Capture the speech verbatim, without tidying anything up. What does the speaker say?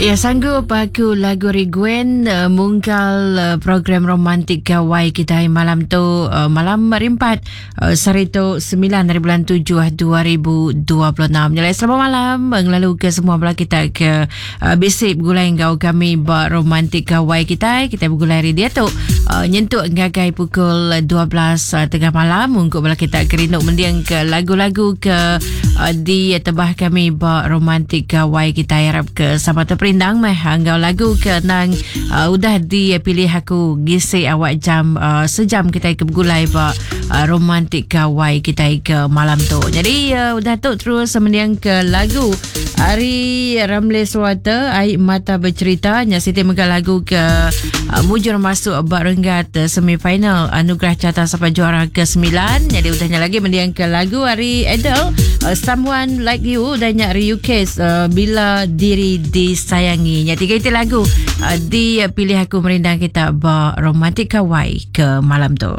Ya, sanggup aku lagu Rigwen uh, mungkal uh, program romantik gawai kita malam tu, uh, malam rimpat uh, sehari tu sembilan hari bulan tujuh dua ribu dua puluh enam. Jadi selamat malam ngelalu ke semua bala kita ke uh, bisik bergulai ngau kami ba romantik gawai kita. Kita bergulai hari dia tu uh, nyentuk ngagai pukul dua belas uh, tengah malam untuk bala kita kerinuk mendiang ke lagu-lagu ke uh, di tebah kami ba romantik gawai kita. Harap ke sama terperindang meh anggau lagu ke nang uh, udah dipilih aku gisi awak jam uh, sejam kita ke bergulai ba uh, romantik gawai kita ke malam tu. Jadi uh, udah tu terus mendiang ke lagu Ari Ramle Suwata Air Mata Bercerita nya siti mega lagu ke uh, mujur masuk bak renggat uh, semifinal Anugerah Carta Sapa Juara ke sembilan. Jadi udahnya lagi mendiang ke lagu Ari Adele uh, Someone Like You dan nyak U K uh, Bila Diri Disayangi. Nya tiga itu lagu uh, dipilih aku merindang kita ba romantik kawai ke malam tu.